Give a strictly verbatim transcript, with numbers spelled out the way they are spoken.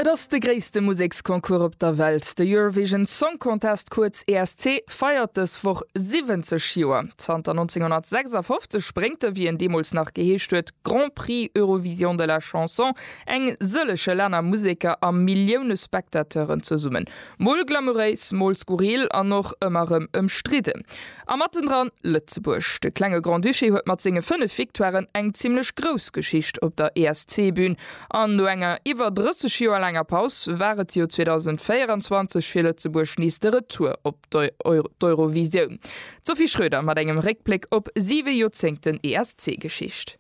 Et ass de gréisste Museksconcours op der Welt. De Eurovision Song Contest, kuerz E S C, feiert dës Woch siwwenzeg Joer. Zanter nonzénghonnertsechsafofzeg bréngt de, wéi en deemools nach geheescht huet, Grand Prix Eurovision de la Chanson eng sëllege Länner, Museker a Millioune Spectateuren zesummen. Mol glamouréis, mol skurril an och ëmmer rëm ëmstridden. A mattendran Lëtzebuerg. De klenge Grand-Duché huet mat senge fënnef Victoiren eng zimmlech grouss Geschicht op der E S C-Bün. An no enger iwwer drësseg Joer laanger Paus war et jo zweedausendvéieranzwanzeg fir Lëtzebuerg nees de Retour op d'Eurovisioun. D'Sophie Schröder mat engem Réckbléck op siwe Joerzéngten E S C-Geschicht.